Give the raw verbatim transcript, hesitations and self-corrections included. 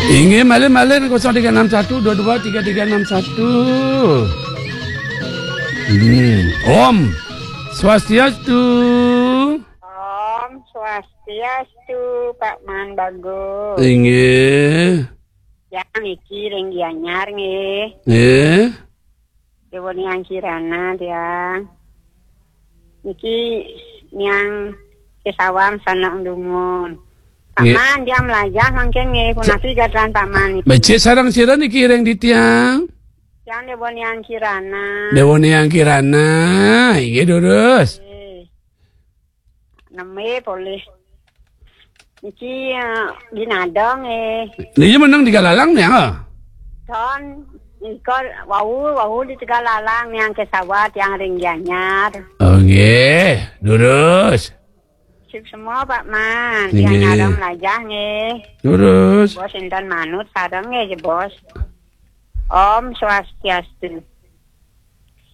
Inggih, malih-malih nang kosong tiga enam satu dua dua tiga tiga enam satu. Hmm. Om Swastiastu. Om Swastiastu, Pak Man Bagus. Inggih. Tiang niki ring Gianyar nggih. Nggih. Déwa Niang Kirana tiang. Niki Niang Kesawang Sanak Dumun. Pak Nggih. Man, tiang mlajah mangkin nggih, punapi gatra Pak Man niki? Becik sareng sira niki ring titiang? Tiang Déwa Niang Kirana. Déwa Niang Kirana, inggih durus. Nggih. Nembé polih. Niki, eh, di Nadong, eh. Niki meneng di Galalang, ya? Don, nika wau, wau di Tegalalang, Niang Kesawang, tiang ring Gianyar. Oh, nggih. Durus. Sip semua, Pak Man. Nggih. Tiang nyarang mlajah, nggih. Durus. Bos, intan manut, sareng, nggih, Bos. Om Swastiastu.